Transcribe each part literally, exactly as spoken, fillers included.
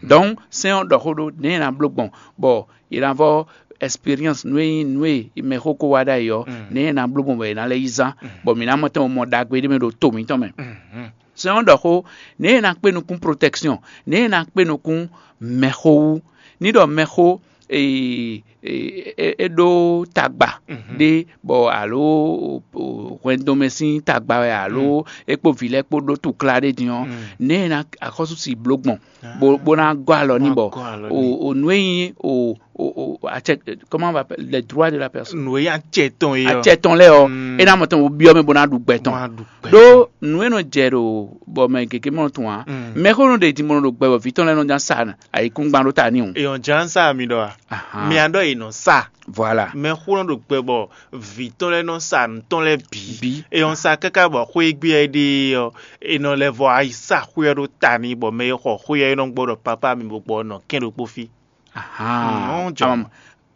Donc sɛ́n ɔ́ ɖɔ xó ɖó nɛ̌ è nǎ bló gbɔn bɔ è nǎ vɔ expérience nú e nyí nǔ e mɛxó ko wá ɖ'ayǐ ɔ́, nɛ̌ è nǎ bló gbɔn bɔ è nǎ lɛ́ yi zán, bɔ mǐ ná mɔ tɛn mɔ ɖagbe ɖé mɛ ɖo to mǐtɔn mɛ. Sɛ́n ɔ́ ɖɔ xó nɛ̌ è nǎ kpé nukún protection, nɛ̌ è nǎ kpé nukún mɛxó wú. Ní ɖɔ mɛxó e e- e- e ɖó tagba ɖé bɔ alo hwɛndomɛ sín tagba wɛ alo é kpó vǐ lɛ́ɛ kpó ɖó tukla ɖé din ɔ́, nɛ̌ è nǎ axɔ́sú si bló gbɔn bó bó ná gɔ́ alɔ n'i bɔ o o nǔ e nyí o o o acɛ comment on va appeler, les droits de la personne, nǔ e nyí acɛ tɔn e ɔ acɛ tɔn lɛ́ɛ ɔ́, é ná mɔ tɔn bó byɔ́ mɛ bó ná ɖu gbɛ tɔn. Wá ɖu gbɛ ɖó tɔn. Nǔ e nɔ jɛ ɖo bɔ mɛ gěgé mɔ tɔn ǎ. Mɛxó nɔ ɖe din bó nɔ ɖo gbɛ bɔ vǐ tɔn lɛ́ɛ nɔ ná sa ayǐkúngban ɖó ta n'i o. Èèyàn jlá ń sá mi ɖɔ a? Ahan. Mi à ɖɔ è nɔ sa. Voilà. Mɛxó nɔ ɖo gbɛ bɔ vǐ tɔn lɛ́ɛ nɔ sa nǔ tɔn lɛ́ɛ bǐ. Bǐ. Èèyàn sa káká bɔ xwé e gbé ɛ ɖe ɔ́, è nɔ lɛ́ vɔ ayi sa xwé ɔ́ ɖó ta n'i bɔ mɛ e xɔ xwé ɔ́ é nɔ gbɔ ɖɔ pápá mi bó gbɔ nɔ kɛn ɖokpó fí. Ahan. Nɔ jɔ. Amam.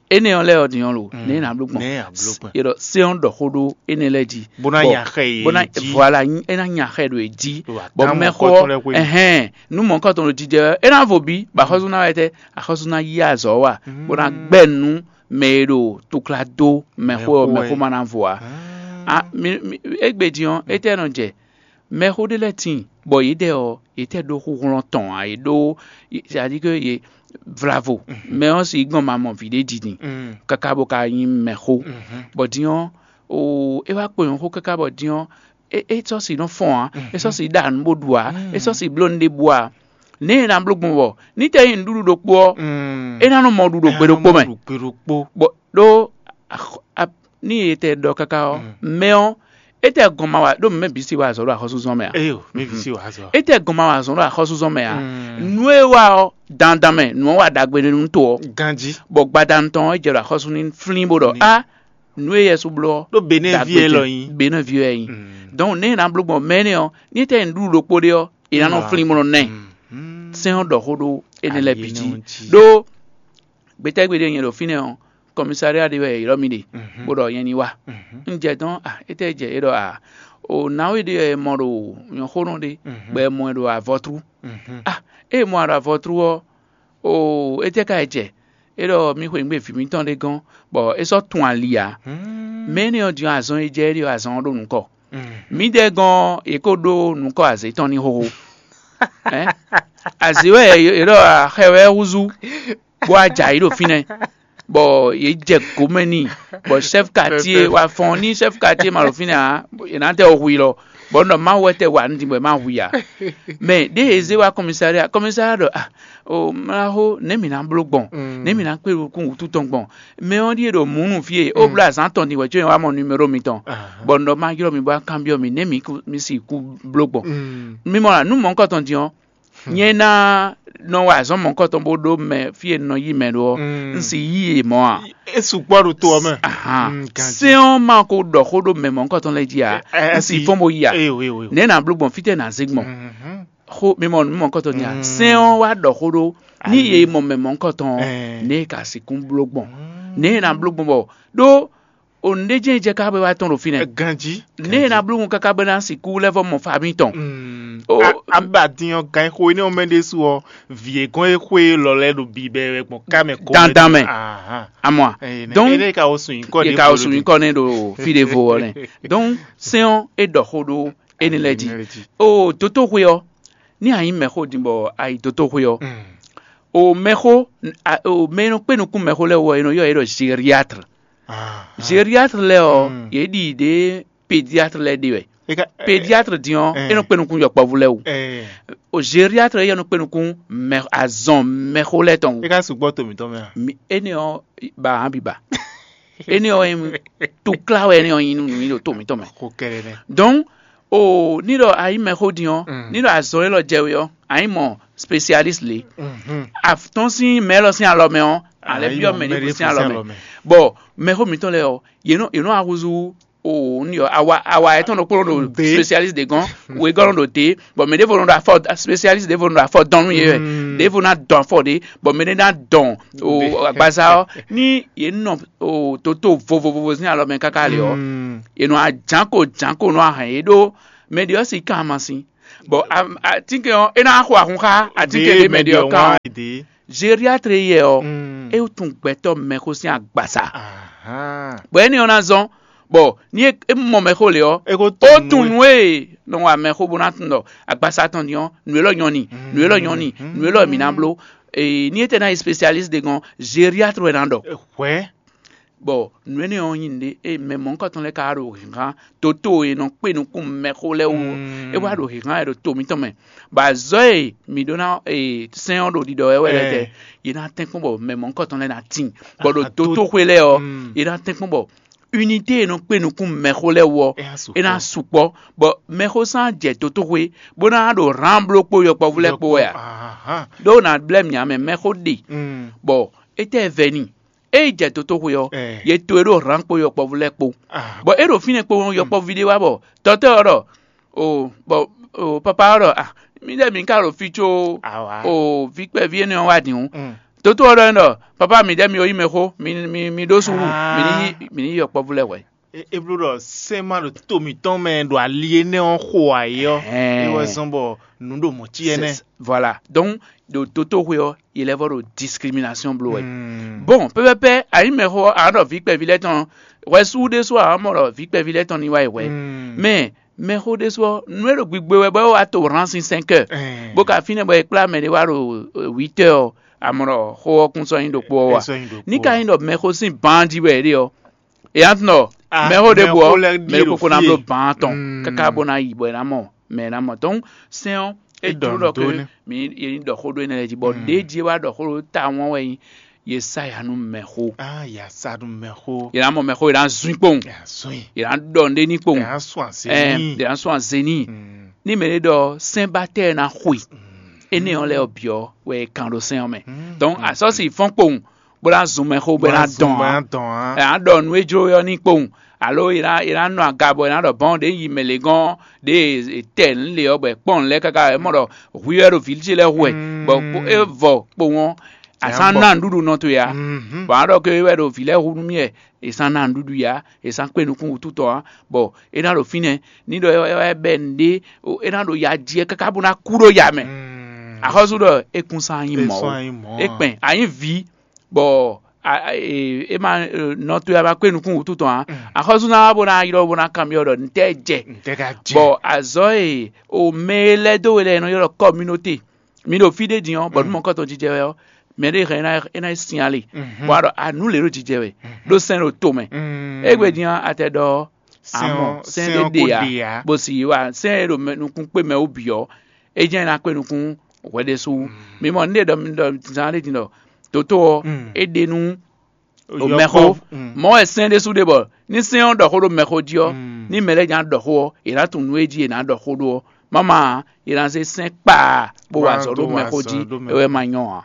Énɛ́ ɔ́ lɛ́ɛ ɔ́ din ɔ́ lo, nɛ̌ è nǎ bló gbɔn? Nɛ̌ è nǎ bló gbɔn? È ɖɔ sɛ́n ɔ́ ɖɔ xó ɖó énɛ́ lɛ́ɛ jí. Bó ná Bɔ- nya xɛ yě bó ná jí. Voilà, é ná nya xɛ ɖo è jí. Ɖo Bɔ atámu mɛxó kɔ́tɔn lɛ́ɛ xwé. Ɛhɛn, nú mɔ̌kɔtɔn ɖo jijɛ ɔ́, é ná vo bí, bɔ axɔ́sú ná wɛ tɛ́, axɔ́sú ná yí azɔ̌ wa, bó ná gbɛ́ nú mɛ e ɖo tukla dó mɛxó ɔ́, Mɛxó mɛxó wɛ. Ma ná vo ǎ. Ah. A, mi, mi, égbé din ɔ́, étɛ́ nɔ jɛ? Mɛxó ɖé lɛ́ɛ tíin, bɔ yědɛɛ ɔ́, yě tɛ ɖó xúxlɔ́n tɔn ǎ, yě ɖó c'est-à-dire que yě vlavo. Mɛ ɔ́ si gbɔn ma mɔ vǐ ɖé didi káká bó ka nyí mɛxó. Bɔ din ɔ́, o é wá kpo nyɔ̌xó káká bɔ din ɔ́, é é sɔ́ si nɔ fɔ́n ǎ, é sɔ́ si ɖa nǔ bó ɖu ǎ, é sɔ́ si bló nǔ ɖěbǔ ǎ. Nɛ̌ è nǎ bló gbɔn bɔ ní tɛ nyí nǔɖuɖu ɖokpó ɔ́, é ná nɔ mɔ ɖuɖu gbe ɖokpó mɛ. Gbe ɖokpó. Bɔ ɖó axɔ- a- ní e tɛ ɖɔ káká ɔ́, mɛ ɔ́, é tɛ gɔn ma wa ɖó mɛ bǐ si wa azɔ̌ ɖo axɔ́súzɔ́n mɛ ǎ. Eyo, mɛ bǐ si wa azɔ̌. É tɛ gɔn ma wa azɔ̌ ɖo axɔ́súzɔ́n mɛ ǎ. Nú é wa ɔ́, dandan mɛ nǔ ɔ́ wa ɖagbe nú to ɔ́. Ganjí. Bɔ gbadanu tɔn ɔ́, é jɛ ɖo axɔ́sú ní flín bó ɖɔ á, nǔ e Yɛsu bló ɔ́, Ɖó Benɛ́ví ɖagbe élɔ́ din. Nyí. Benɛ́ví wɛ é nyí. Donc nɛ̌ è nǎ bló gbɔn mɛ énɛ́ ɔ́, ní é tɛ nyí nǔɖuɖu ɖokpó ɖé ɔ́, è nǎ nɔ flín bó nɔ ná ɛ. Sɛ́n ɔ́ ɖɔ xó ɖó énɛ́ lɛ́ɛ bǐ jí. Ɖó gbetɛ́gbe ɖé nyɛ ɖo fínɛ́ ɔ́, kɔmísáriá ɖé wɛ è ylɔ́ mì ɖe, bó ɖɔ nyɛ ní wá. Un jɛ dɔn a, étɛ́ jɛ é ɖɔ a, o nǎwe ɖé wɛ è mɔ ɖo nyɔ̌xónɔ ɖé, bɔ è mɔ ɛ ɖo avɔtrú. A, ée è mɔ ɛ ɖo avɔtrú ɔ́, o étɛ́ ka è jɛ? É ɖɔ mì xweyǐgbe vǐ mǐtɔn ɖé gɔ́n, bɔ é sɔ́ tun ali ǎ. Mɛ énɛ́ ɔ́ din ɔ́, azɔn e jɛ é ɖe ɔ́, azɔn ɔ́ ɖo nǔ kɔ. Mǐdɛɛ gɔ́n ɔ́, è ko ɖó nǔ kɔ azě tɔn ní xóxó. Azě wɛ è ɖɔ xɛ wɛ húzú, bó wá jɛ ayǐ ɖo fínɛ́, bɔ yě jɛ gǒmɛ n'i, bɔ chef quartier wa fɔn ní chef quartier ma ɖo fínɛ́ ǎ, è nǎ tɛ ɔ hu i lɔ, bɔ un ɖɔ Mawu wɛ tɛ wa nǔ din bɔ è má hu i ǎ. Mɛ ɖěe è zé wá kɔmísária, kɔmísária ɖɔ ah, o mlaxó, nɛ̌ mǐ ná bló gbɔn? Nɛ̌ mǐ ná kpé kún wǔtu tɔn gbɔn? Mɛ ɔ́ ɖíe ɖo mǔ nú fí e ó bló azǎn tɔn din wɛ có nyɛ wá mɔ numero mitɔn, bɔ un ɖɔ má ylɔ́ mi bó wá kanbyɔ́ mi nɛ̌ mi kún- mi sixú bló gbɔn. Mi mɔ nǔ mɔ̌hunkɔtɔn din ɔ́, nyɛ ná nɔ wa azɔ̌ mɔ̌hunkɔtɔn bó ɖó mɛ fí e un nɔ yí mɛ ɖó ɔ́, un sì yí yě mɔ̌ ǎ. É sukpɔ́ ɖo to ɔ́ mɛ. Ahan. Sɛ́n ɔ́ ma ko ɖɔ xó ɖó mɛ mɔ̌hunkɔtɔn lɛ́ɛ jí ǎ, un sì fɔ́n bó yi ǎ. Nɛ̌ ná bló gbɔn fítɛ́ ná zé gbɔn? Xó mi mɔ nǔ mɔ̌hunkɔtɔn din ǎ. Sɛ́n ɔ́ wá ɖɔ xó ɖó ní yě mɔ mɛ mɔ̌hunkɔtɔn ɔ́, nɛ̌ è ka sixú bló gbɔn? Nɛ̌ è nǎ bló gbɔn bɔ ɖó o nǔɖé jɛ́n jɛ ká bɔ é wá tɔ́n ɖo fínɛ́. Ganjí. Nɛ̌ è nǎ bló gbɔn káká bɔ é ná sixú lɛ́ vɔ mɔ fami tɔn? O- A- a ba din ɔ́ gan xo énɛ́ ɔ́ mɛ ɖésú ɔ́, vǐ e gɔ́n e xwé lɔ lɛ́ ɖo bibɛ wɛ gbɔn ká mɛ kó Dandan mɛ. Ahan. Amɔ a? Ɛ, ne- Donc, ene ka wo sun nyikɔ Ye ɖe ka ko wo ɖo sun ɖi. Nyikɔ ne ɖo fi ɖe vo ɔ́ nɛ. Donc sɛ́n ɔ́ é ɖɔ xó ɖó énɛ́ lɛ́ɛ jí. Énɛ́ lɛ́ɛ jí. O dotoxwe ɔ́, ní a nyí mɛxó din bɔ a yi dotoxwe ɔ́, o mɛxó a- o mɛ e nɔ kpé nukún mɛxó lɛ́ɛ wú ɔ́, è nɔ ylɔ́ yě ɖɔ gériatre. Gériatre lɛ́ɛ ɔ́, yě ɖi ɖě pédiatre lɛ́ɛ ɖe wɛ. Pédiatre din ɔ́, é nɔ kpé nukún yɔkpɔ́vú lɛ́ɛ wú. O gériatre yɛ nɔ kpé nukún mɛ azɔn mɛxó lɛ́ɛ tɔn wú. É ka sukpɔ́ to mǐtɔn mɛ a? Mi- énɛ́ ɔ́ ba hán biba. Énɛ́ ɔ́ nyí tukla wɛ énɛ́ ɔ́ nyí nú nǔ nyi ɖo to mǐtɔn mɛ. Xo kɛɖɛ nɛ. Donc o ní ɖɔ a nyí mɛxó din ɔ́, ní ɖɔ azɔn élɔ́ jɛ we ɔ́, a nyí mɔ spécialiste lé. Atɔ́n sín mɛ élɔ́ sín alɔ mɛ ɔ́, a lɛ́ byɔ́ mɛ ɖěvo sín alɔ mɛ. Bɔ mɛxó mǐtɔn lɛ́ɛ ɔ́, yě nɔ yě nɔ ahúzú o ní ɔ́ awa awa etɔn ɖokpó ɖo spécialiste ɖe gɔn, wegɔn ɖo te, bɔn mɛ ɖěvo nɔ ɖo afɔ spécialiste ɖěvo nɔ ɖo afɔ dɔn nú yě wɛ, ɖěvo ná dɔn afɔ ɖě, bɔn mɛ ɖé ná dɔn o agbaza ɔ́, ní yě nɔ o toto vovovovo sín alɔ mɛ káká lě ɔ́, yě nɔ ajǎnko jǎnko nɔ ahɛn yě ɖó mɛ ɖě ɔ́ si kan amasin. Bɔ am- atínkɛn ɔ́, é ná xo ahun xá atínkɛn ɖé mɛ ɖe ɔ́ kan ɔ́. Gériatre yɛ ɔ́, Mm. É tunwun gbɛtɔ́ mɛxó sín agbasa. Ahan. Bɔ énɛ́ ɔ́ ná zɔ́n, bɔ ní é é mɔ mɛxó lě ɔ́, É ko ó tunwun tunwun nú nú e nɔ wa mɛxó bó ná tunwun ɖɔ agbasa tɔn din ɔ́, nǔ élɔ́ nyɔ́ ni, nǔ élɔ́ nyɔ́ ni, nǔ élɔ́ mǐ ná bló. Ee, ní é tɛ ná yi spécialiste ɖé gɔ́n, gériatre wɛ ná ɖɔ. Hwɛ̌. Bɔ nǔ énɛ́ ɔ́ nyí nǔɖé e mɛ mɔ̌hunkɔtɔn lɛ́ɛ ka wá ɖo hǐnhán toto e nɔ kpé nukún mɛxó lɛ́ɛ wú ɔ́, Mm. É wá ɖo hǐnhán wɛ ɖo to mǐtɔn mɛ. Bɔ azɔ̌ e mǐ ɖó ná e sɛ́n ɔ́ ɖo ɖiɖɔ wɛ wɛ lɛ́ɛ tɛ, Ɛ. Yě ná tɛ́nkpɔ́n bɔ mɛ mɔ̌hunkɔtɔn lɛ́ɛ ná tíin, bɔ ɖo Ah, to- dotoxwé lɛ́ɛ ɔ́, Mm. Yě ná tɛ́nkpɔ́n bɔ unité e nɔ kpé nukún mɛxó lɛ́ɛ wú ɔ́, É ná sukpɔ́. É ná sukpɔ́, bɔ mɛxó sán jɛ dotoxwé bó ná ɖo hǎn bló kpó yɔkpɔ́vú lɛ́ɛ kpó wɛ a? Ahan. Ɖó ná blɛ́ mǐ ǎ mɛ, mɛxó ɖe, Mm. Bɔ étɛ́ vɛ n'i? Ée jɛ dotoxwe ɔ́, Ɛ. Yě to e ɖó hǎn kpó yɔkpɔ́vú lɛ́ɛ kpó. Ah. Bɔ é ɖo fínɛ́ kpó ɔ́, yɔkpɔ́ví ɖé wá bɔ tɔ́tɔ́ ɔ́ ɖɔ, o bɔ o papa ɔ́ ɖɔ, ah, mi ɖɛ mi ka ɖo fí có Awa. O vǐ kpɛví énɛ́ ɔ́ wá din hǔn. Mm. Toto ɔ́ ɖɔ n'i ɖɔ, papa mi ɖɛ mi o yí mɛ xó, mi mi mi ɖó súnnu, Ah. Mi ní yí mi ní yí yɔkpɔ́vú lɛ́ɛ hwɛ. É é bló ɖɔ sɛ́n ma ɖo to mǐtɔn mɛ ɖo ali énɛ́ ɔ́ xo ayǐ ɔ́, Ɛhɛn. É wɛ zɔ́n bɔ nǔ ɖo mɔ̌ cí ɛnɛ́. C'est- voilà. Donc ɖo dotoxwe ɔ́, yě lɛ́ vɔ ɖo discrimination bló wɛ. Mm. Bon, pɛpɛpɛ, ayǐ mɛxó ɔ́, a nǎ ɖɔ vǐ kpɛví lɛ́ɛ tɔn hwɛ sú ɖésú a mɔ ɖɔ vǐ kpɛví lɛ́ɛ tɔn ní wá yi hwɛ. Mm. Mais mɛxó ɖésú ɔ́, nú é ɖo gbigbe wɛ bɔ é wá to hǎn sín cinq heures. Ɛhɛn. Bó ka fínɛ́ bɔ è kplá mɛ ɖé wá ɖo huit heures ɔ́, a mɔ ɖɔ xó ɔ́ kún sɔ́ nyí ɖokpó ɔ́ É wa. Sɔ́ nyí ɖokpó Ní ka ɔ́. Nyí ɖɔ mɛxó sín ban jí wɛ é ɖe ɔ́, é ná tunɔ Ah, mɛxó ɖěbǔ ɔ́, mɛxó lɛ́ɛ ɖíe mɛ ɖokpó ɖo kó ná fí bló e. Ban tɔn Mm. Káká bó ná yi bɔ é ná mɔ mɛ e ná mɔ tɔn sɛn ɔ́ é É ɖɔ jló ɖɔ nǔ dó ké nɛ́. Mi yě ní ɖɔ xó ɖó énɛ́ lɛ́ɛ jí bɔ Mm. Ɖěe jí é wá ɖɔ xó ɖó ta wɔn wɛ nyí Yesaya nú mɛxó. Ah, yě ná sa nú mɛxó. Yě ná mɔ mɛxó, yě ná zun kpowun. Yě ná zun i. Yě ná ɖɔ nɖé ní kpowun. Yě ná sún azě Ɛɛ, ní i. Yě ná sún azě ní i. Mm. Ní mɛ ɖé ɖɔ sɛ́nbatɛ́ ná xwe. Mm. Énɛ́ ɔ́ lɛ́ɛ ɔ́ bǐ ɔ́ wɛ è kan ɖo sɛ́n ɔ́ mɛ. Mm. Donc Mm. Asɔ́si fɔ́n kpowun bó ná zun mɛ xó bó ná dɔn ǎ. Bó ná dɔn ǎ. Ɛ, á ɖɔ nǔ e jló ɔ́ ní kpowun, alo è ná è ná nɔ aga bɔ è ná ɖɔ bɔn ɖě yi mɛ lě gɔ́n ɖě è tɛ nǔ lě ɔ́ bɔ è kpɔ́n nǔ lɛ́ɛ káká è mɔ ɖɔ hwi wɛ ɖo vǐ ce lɛ́ɛ hu wɛ, Mm. Bɔ kpo- é vɔ kpowun ɔ́, È nǎ asán bɔ. Ná nǔɖuɖu nɔ towe ǎ. Mhm. Bɔ á ɖɔ ke é wɛ ɖo vǐ lɛ́ɛ hu nú mì wɛ, è sán ná nǔɖuɖu ǎ, è sán kpé nukún wútu tɔn ǎ, bɔ é ná ɖo fínɛ́, ní ɖɔ é wá bɛ nǔɖé, o, é ná ɖo ya jí ɛ káká bó ná kú ɖó ya mɛ. Mm. Axɔ́sú ɖɔ é kún sán nyí É mɔ̌ sɔ́ ó. Anyi mɔ̌ É ǎ. Kpɛn a nyí vǐ, bɔ a- a- e- é ma e, nɔ towe a ma kpé nukún wútu tɔn ǎ. Mm. Axɔ́sú ná wá bó ná ylɔ́ bó ná kanbyɔ́ ɖɔ ntɛ́ jɛ. Ntɛ́ ka jɛ. Bɔ azɔ̌ e o mɛ e lɛ́ dó we lɛ́ɛ è nɔ ylɔ́ kɔminote, mi ɖo fí ɖé din ɔ́, bɔ nú Mm. mɔ̌kɔtɔn jijɛ wɛ ɔ́, mɛ ɖé hɛn é ná é ná sin ali, Mhm. Bɔ a ɖɔ a nǔ lě ɖo jijɛ wɛ, Mhm. Ɖó sɛn ɖo to mɛ. Mm. Égbé din ɔ́, a tɛ ɖɔ Sɛn amɔ ɔ́- sɛn sɛn ɖé ɔ́ ɖe ko ǎ, ɖe ǎ. Bó si wa sɛn e ɖo mɛ- nukún kpé mɛ wú bǐ ɔ́, é jɛ́n ná kpé nukún hwɛ ɖésú. Mm. Mi mɔ nǔɖé ɖɔ mi ɖɔ zán ɖé din ɖɔ toto ɔ́, Mm. É ɖe nú O Oyɔkpɔ́- mɛxó, Mm. Mɔ̌ wɛ sɛ́n ɖésú ɖe bɔ ní sɛ́n ɔ́ ɖɔ xó ɖó mɛxó jí ɔ́, Mm. Ní mɛ lɛ́ɛ nya ɖɔ xó ɔ́, è nǎ tunwun nǔ e jí è nǎ ɖɔ xó ɖó ɔ́. Máma ǎ, è nǎ zé sɛ́n kpaa bó wa Wá azɔ̌ ɖó ɖó mɛxó azɔ̌ jí, ɖó mɛ- É wɛ ma nyɔ́ ǎ.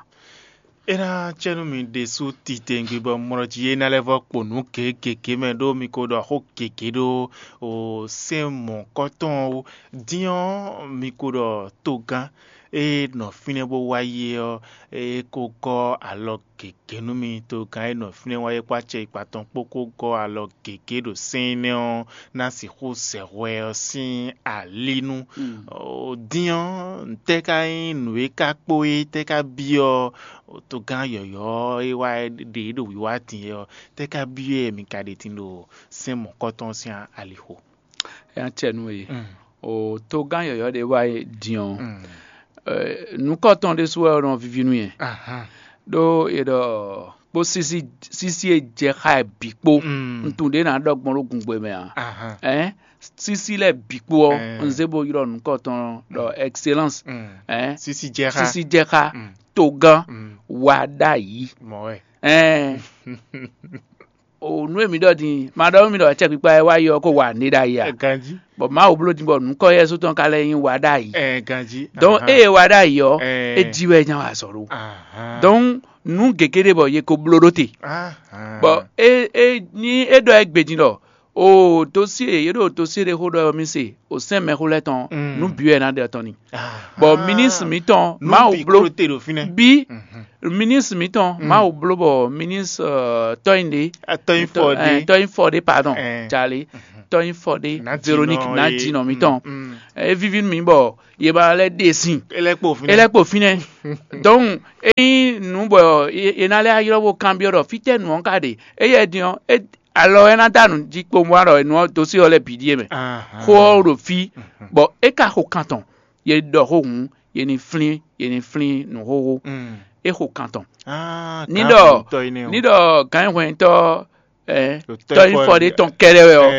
É ná cɛ nú mi ɖésú titewungbe bɔ mlɔ jí é ná lɛ́ vɔ kpo nǔ gěgěgé mɛ ɖó mi ko ɖɔ xó gěgé ɖó o sɛ́n mɔ̌kɔtɔn ɔ́ wú. Din ɔ́, mi ko ɖɔ togán e nɔ fínɛ́ bó wá yi é ɔ́, é ko gɔ́ alɔ gěgé nú mi. Togán e nɔ fínɛ́ wá yi kpó acɛ ikpa tɔn kpó kó gɔ́ alɔ gěgé ɖo sɛ́n énɛ́ ɔ́ ná sixú zɛ hwɛ ɔ́ sín alí nu. Mm. O, din ɔ́, ntɛ́ ka nyí nǔ e ka kpó é tɛ́ ka byɔ́ togán yɔ̌yɔ́ e wá ɖe é ɖo wiwa din é ɔ́, tɛ́ ka byɔ́ ɛ mi ka ɖe tin ɖo sɛ́n mɔ̌kɔtɔn sín alixo? É ná cɛ nú we. Mm. O togán yɔ̌yɔ́ ɖé wá yi din ɔ́, Mm. Ɛ, nǔkɔtɔn ɖésú wɛ nɔ víví nú yɛ. Ahan. Ɖó è ɖɔ kpó sísí sísí e jɛ xá ɛ bǐ kpó. Mm. Ntu ɖé ná ɖɔ gbɔn ɖó gungbe mɛ ǎ. Ahan. Ɛn sísí lɛ́ɛ bǐ kpó ɔ́, Ɛn. Un zé bó ylɔ́ nǔkɔtɔn ɖɔ excellence. Mm. Ɛn Sísí jɛ xá. Sísí jɛ xá. Mm. Togán Mm. Wa ɖ'ayǐ. Mɔ̌ wɛ. Ɛn o nú e mi ɖɔ din ma ɖɔ mi ɖɔ acɛkpikpa e wá yi ɔ́ ko wa nǔ ɖ'ayǐ a? Ganjí. Bɔ Mawu bló din bɔ nǔkɔ Yɛsu tɔn ka lɛ́ nyí wa ɖ'ayǐ. Ɛ ganjí. Donc Ahan. Eye wa ɖ'ayǐ ɔ́, Ɛ. É jí wɛ nya wa azɔ̌ ɖó. Ahan. Donc nǔ gěgé ɖé bɔ ye ko bló ɖó te. Ahan. Bɔ é é ní é ɖɔ é gbe din ɖɔ O dosie, yě ɖo dosie ɖé xó ɖɔ ɔ́, mi se o sɛn mɛxó lɛ́ɛ tɔn, nú bǐ wɛ ná ɖe tɔn ni. Bɔ minísitri mǐtɔn Mawu bló, bí minísitri mǐtɔn Mawu bló bɔ minísitri tɔ́nyí ɖé, tɔ́nyí fɔ ɖé, pardon, jali tɔ́nyí fɔ ɖé, Véronique Nadjinɔ mǐtɔn. É víví nú mì bɔ yě ba lɛ́ ɖe sin, é lɛ́ kpo fínɛ́. Donc ényí nǔ bɔ è ná lɛ́ ylɔ́ bó kanbyɔ́ ɖɔ fítɛ́ nǔ ɔ́ ka ɖe, éyɛ́ din ɔ́, alɔ ɔ́ é ná dó nǔ jí kpowun wá ɖɔ nǔ ɔ́ dó sí ɔ́ lɛ́ɛ bǐ ɖíe mɛ. Xó ɔ́ ɖo fí, bɔ é ka xo kan tɔn, yě ɖɔ xó hǔn, yě ní flín, yě ní flín nǔ xóxó. É xo kan tɔn. Ní ɖɔ ní ɖɔ gǎnyihwɛntɔ́ tɔ́yinfɔ ɖé tɔn kɛ́ɖɛ́ wɛ ɔ́,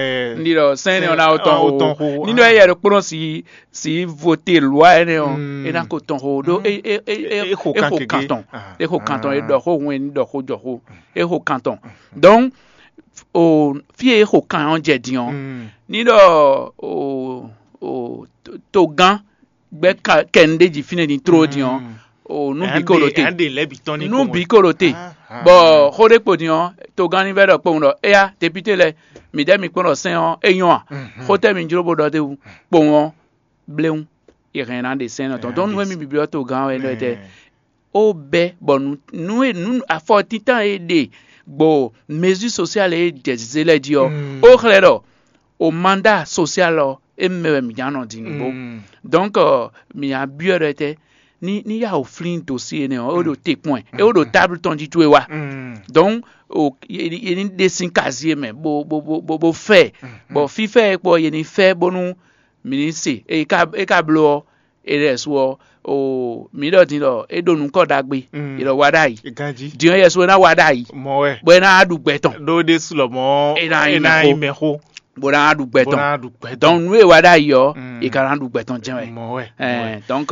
ní ɖɔ sɛn énɛ́ ɔ́ ná ó tɔn xóxó. Ní ɖɔ éyɛ́ ɖokpónɔ si si vote lwa énɛ́ ɔ́, é ná ko tɔn xóxó ɖó é é é é é xo kan tɔn. É xo kan tɔn, é ɖɔ xó hǔn, é ní ɖɔ xó jɔ xó. É xo kan tɔn. Donc o fí e é xo kan ɔ́ jɛ din ɔ́, ní ɖɔ o o togán gbɛ́ kɛnu ɖé jí fínɛ́ din tló din ɔ́, o nú bǐ ko ɖo te. Nú bǐ ko ɖo te, bɔ xó ɖé kpo din ɔ́, togán ní vɛ́ ɖɔ kpowun ɖɔ éyá, depíté lɛ́ɛ, mǐ ɖɛ́ mi kpɔ́n ɖɔ sɛn ɔ́ é nyɔ́ a? Xó tɛ́ mi jló bó ɖɔ d'é wú? Kpowun ɔ́, bléwún, è hɛn ná ɖe sɛn énɛ́ tɔn. Dɔn nú émí bǐ byɔ́ togán ɔ́ é ɖɔ tɛ́? Ó bɛ́ bɔ nǔ nǔ e nǔ afɔtíntan e ɖe gbɔ mezí sosial e jɛ zé lɛ́ɛ jí ɔ́, ó xlɛ́ ɖɔ o manda sosial ɔ́, é mɛ wɛ mǐ ná nɔ din nǔgbó. Donc mǐ ná byɔ́ ɖɔ tɛ́ ní ní yá wǒ flín dosi énɛ́ ɔ́, é ɖo te kpɔ́n ɛ, é ɖo táblu tɔn jí towe wá. Donc o e ní ɖe sín kazi e mɛ bó bó bó bó bó fɛ, bɔ fífɛ e kpɔ e ní fɛ bónú mǐ ní se e ka e ka bló ɔ́, é ɖɛ̌ su ɔ́, o mǐ ɖɔ din ɖɔ é ɖo nǔkɔ ɖagbe, è ɖɔ wa ɖ'ayǐ. Din ɔ́, yɛsu é ná wa ɖ'ayǐ, bɔ é ná ɖu gbɛ tɔn. Ɖó ɖésú lɔmɔ̌ é ná nyí mɛxó, bó ná ɖu gbɛ tɔn. Donc nǔ e wa ɖ'ayǐ ɔ́, è ka ná ɖu gbɛ tɔn jɛ́n wɛ. Mɔ̌ wɛ. Donc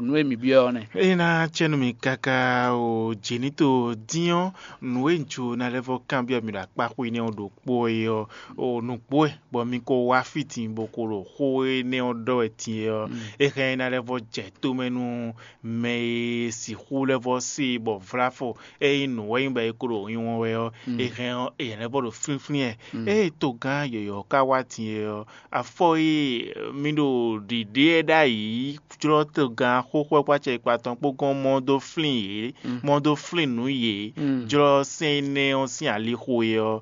nǔ e mǐ byɔ́ ɔ́ nɛ́. É ná cɛ́ nú mì káká o jǐ ní to dín ɔ́, nǔ e un jló ná lɛ́ vɔ́ kanbyɔ́ mi ɖo akpáxwé nɛ́ ɔ́ ɖokpó é ɔ́, o nǔgbó wɛ bɔ mi ko wá fí din bó ko ɖo xó énɛ́ ɔ́ ɖɔ wɛ din é ɔ́, é hɛn é ná lɛ́ vɔ́ jɛ tomɛ nú mɛ e sixú lɛ́ vɔ́ se bɔ vláfɔ ényí nǔ wɛ nyí bɔ é ko ɖo nyinywɔ́n wɛ ɔ́, é hɛn ɔ́, è lɛ́ vɔ́ ɖo flínflín ɛ. Ée togán yɔ̌yɔ́ ka wá din é ɔ́, afɔ e mi ɖo ɖiɖe ɛ ɖ'ayǐ jlɔ́ togán xóxó ɛ kpó acɛ kpa tɔn kpó gɔ́n mɔ dó flín yě, mɔ dó flín nǔ yě, jlɔ́ sɛn énɛ́ ɔ́ sín alixo é ɔ́,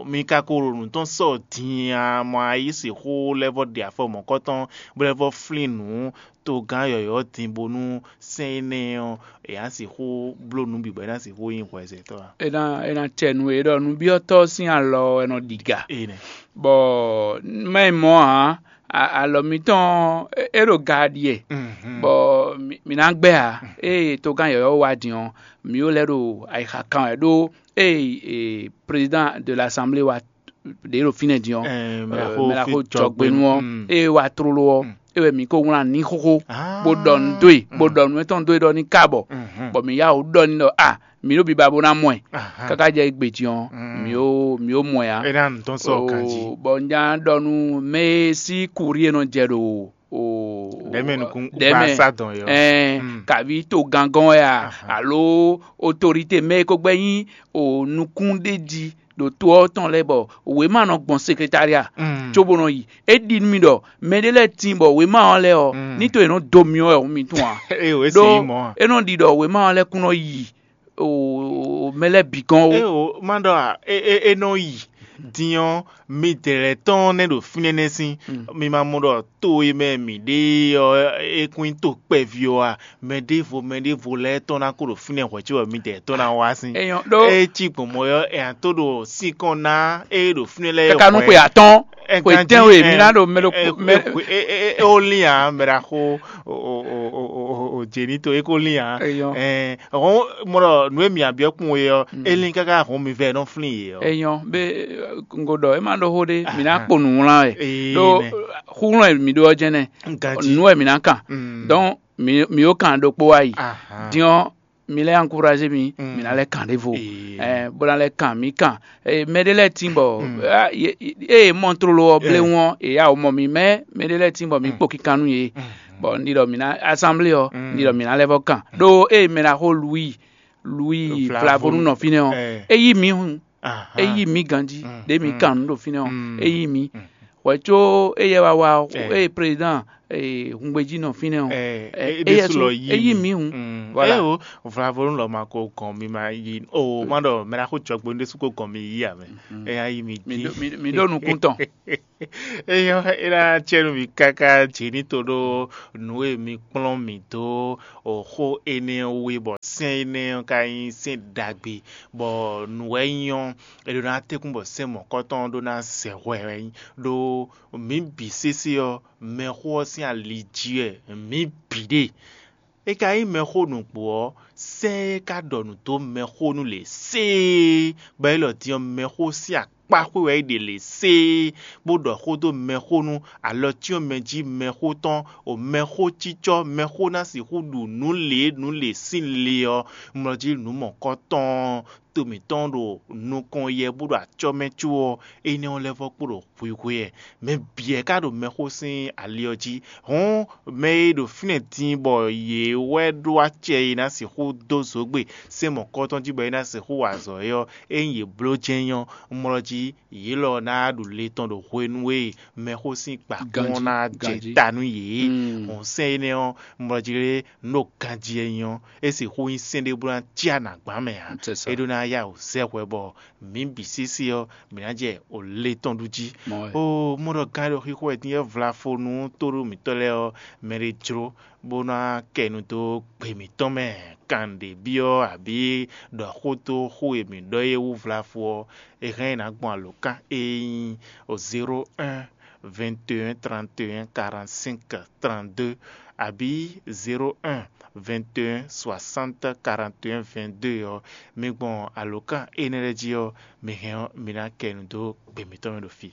mi ka ko ɖo nǔ tɔn sɔ din a? Mɔ a yí sixú lɛ́ vɔ́ ɖe afɔ mɔ̌kɔtɔn bó lɛ́ vɔ́ flín nǔ togán yɔ̌yɔ́ din bónú sɛn énɛ́ ɔ́, è nǎ sixú bló nǔ bǐ bɔ é ná sixú nyí hwɛzɛtɔ́ ǎ. É ná é ná cɛ nú we ɖɔ nǔbyɔ́tɔ́ sín alɔ wɛ nɔ ɖiga. Bɔ má nyí mɔ̌ ǎ, alɔ mitɔn é ɖo ga ɖiɛ, bɔ mǐ ná gbɛ́ ǎ. Ée togán yɔ̌yɔ́ wá din ɔ́, mǐ ó lɛ́ ɖo ayixa kan wɛ ɖó ée président de l'assemblée wá ɖě ɖo fínɛ́ din ɔ́, mɛ ɖaxó jɔgbénu ɔ́, ée wá tlóló ɔ́, é wɛ mǐ ko wlán ní xóxó, bó ɖɔ nǔ dó e, bó ɖɔ nǔ etɔn dó e ɖɔ ní ka bɔ, bɔ mǐ yá wǔ ɖɔ ní ɖɔ a mǐ ɖo biba bó ná mɔ ɛ. Káká jɛ égbé din ɔ́, mǐ ó mǐ ó mɔ ɛ ǎ. É ná nǔ tɔn sɔ ganjí. Bɔ un já ɖɔ nú mɛ e sí kurí e nɔ jɛ ɖo o Ɖɛ̌mɛ nukún ɖɛ̌mɛ gbasá dɔn yɔ. Ɛn kaví to gangɔn wɛ a alo otorite mɛ e ko gbɛ́ nyí o nukún ɖé jí ɖo to ɔ́ tɔn lɛ́ɛ bɔ wěma nɔ gbɔn sekretariat cóbó nɔ yi. É ɖi nú mì ɖɔ mɛɖé lɛ́ɛ tíin bɔ wěma ɔ́ lɛ́ɛ ɔ́ ní to è nɔ do myɔ wɛ hǔn mi tún ǎ. Ée o é se ɖó yí mɔ̌ a? É nɔ ɖi ɖɔ wěma ɔ́ lɛ́ɛ kún nɔ yi o mɛ lɛ́ɛ bǐ gɔ́n ó. É o má ɖɔ a é é é nɔ yi din ɔ́, midɛɛ lɛ́ɛ tɔn nɛ́ ɖo fínɛ́ nɛ́ sín. Mi ma mɔ ɖɔ to e mɛ mǐ ɖe ɔ́ é kún nyí to kpɛví ɔ́ a? Mɛ ɖěvo mɛ ɖěvo lɛ́ɛ tɔn ná kó ɖo fínɛ́ hwɛ̌ cóbɔ midɛɛ tɔn ná wá sín. É nyɔ́ ɖó é cí gbɔn mɔ̌ ɔ́, è nǎ tó ɖo sín kɔn ná é ɖo fínɛ́ lɛ́ɛ káká nú xwe atɔ́ɔ́n, xwe tɛ́nwe mi ná ɖo mɛ ɖokpó mɛ. Ó lín ǎ, mɛ ɖaxó o jěnítɔ é kó lín ǎ. Hɔn mɔ ɖɔ nǔ e mǐ abyɔ́ kpɔn é ɔ́, é lín káká hɔn mi vɛ nɔ flín yě ɔ́. É nyɔ́ bé ŋgo ɖɔ é má ɖó xó ɖé, mǐ ná kpo nǔ wlán wɛ. Ɖó xúxlɔ́n e mǐ ɖó ɔ́ jɛ́n nɛ́, nǔ wɛ mǐ ná kan. Donc mǐ mǐ ó kan ɖokpó wá yi. Din ɔ́, mi lɛ́ encouragé mi, mi ná lɛ́ kan ɖěvo, bó ná lɛ́ kan mǐ kan. Mɛ ɖé lɛ́ɛ tín bɔ ée mɔ tlolo ɔ́ bléwún ɔ́, è yá wǒ mɔ mi, mɛ mɛ ɖé lɛ́ɛ tín bɔ mi kpo kinkan nú yě. Bɔ un ɖi ɖɔ mǐ ná assemblée ɔ́, un ɖi ɖɔ mǐ ná lɛ́ vɔ́ kan. Ɖó ée mɛ ná xo Louis Louis Flavonu nɔ fínɛ́ ɔ́, é yí mǐ hun. É yí mǐ ganjí ɖě mǐ kan nǔ ɖo fínɛ́ ɔ́, é yí mǐ. Hwɛ̌ có éyɛ́ wá wá ɔ́, ée président hungbejí nɔ fínɛ́ ɔ́, éyɛ́ sú é yí mǐ hǔn. Voilà. Éwo, vlavo nú lɔ ma ko gɔn mi ma yi o, má ɖɔ mɛ ná xó jɔgbe ɖésú ko gɔn mi yí ame. Éyá yí mi dín. Mi ɖó nukún tɔn. Eyɔ, é ná cɛ nú mi káká jǐ ní to ɖó nǔ e mi kplɔ́n mì dó xó énɛ́ ɔ́ wú é, bɔ sɛ́n énɛ́ ɔ́ ka nyí sɛ́n ɖagbe, bɔ nǔ wɛ nyí ɔ́, è ɖó ná tɛ́nkún bɔ sɛ́n mɔ̌kɔtɔn ɔ́ ɖó ná zɛ hwɛ wɛ nyí, ɖó mǐ bǐ sésé ɔ́, mɛxó ɔ́ sín ali jí wɛ mǐ bǐ ɖe. É ka nyí mɛxó nǔgbó ɔ́, sɛ́n e ka ɖɔ nǔ dó mɛxónú lě séé, bɔ élɔ́ din ɔ́, mɛxó sín akpáxwé wɛ é ɖe lě séé, bó ɖɔ xó dó mɛxónú, alɔ cyɔ́n mɛ jí mɛxó tɔn, o mɛxó cícɔ́, mɛxó ná sixú ɖu nǔ lě nǔ lě sín le ɔ́, mlɔ jí nǔ mɔ̌kɔtɔn to mǐtɔn ɖo nukɔn yɛ bó ɖo acɔ́ mɛ có ɔ́, énɛ́ ɔ́ lɛ́ vɔ́ kpo ɖo hwihwe wɛ. Mɛ bǐ wɛ ka ɖo mɛxó sín ali ɔ́ jí. Hɔ̌n mɛ e ɖo fínɛ́ din bɔ yě wɛ ɖó acɛ e ná sixú dó zǒgbe sɛ́n mɔ̌kɔtɔn jí bɔ é ná sixú wa azɔ̌ é ɔ́, ényí yě bló jɛ́n nyí ɔ́, un mlɔ jí yě lɔ ná ɖu le tɔn ɖo hwenu e mɛxó sín kpakún ɔ́ ná jɛ ta nú yě. Hɔ̌n sɛ́n énɛ́ ɔ́, un mlɔ jí lé nú ɖo ganjí wɛ nyí ɔ́, é sixú nyí sɛ́n ɖé bó ná cí anǎgbán mɛ ǎ. É ɖó ná yá wǔ zɛ hwɛ bɔ mǐ bǐ sésé ɔ́, mǐ ná jɛ o le tɔn ɖu jí. O mɔ ɖɔ gán ɖo xixo wɛ din e vlafonu tóɖó mǐtɔn lɛ́ɛ ɔ́, mɛ ɖé jló bó ná kɛ nu dó gbe mǐtɔn mɛ. Kan ɖě byɔ́ abǐ ɖɔ xó dó xó e mǐ ɖɔ é wú vlafo ɔ́, è hɛn ná gbɔn alǒkan e nyí zéro un vingt et un trente et un quarante-cinq trente-deux abǐ zéro un vingt et un soixante quarante et un vingt-deux ɔ́, mi gbɔn alǒkan énɛ́ lɛ́ɛ jí ɔ́, mi hɛn ɔ́, mi ná kɛ nu dó gbe mǐtɔn mɛ ɖo fí.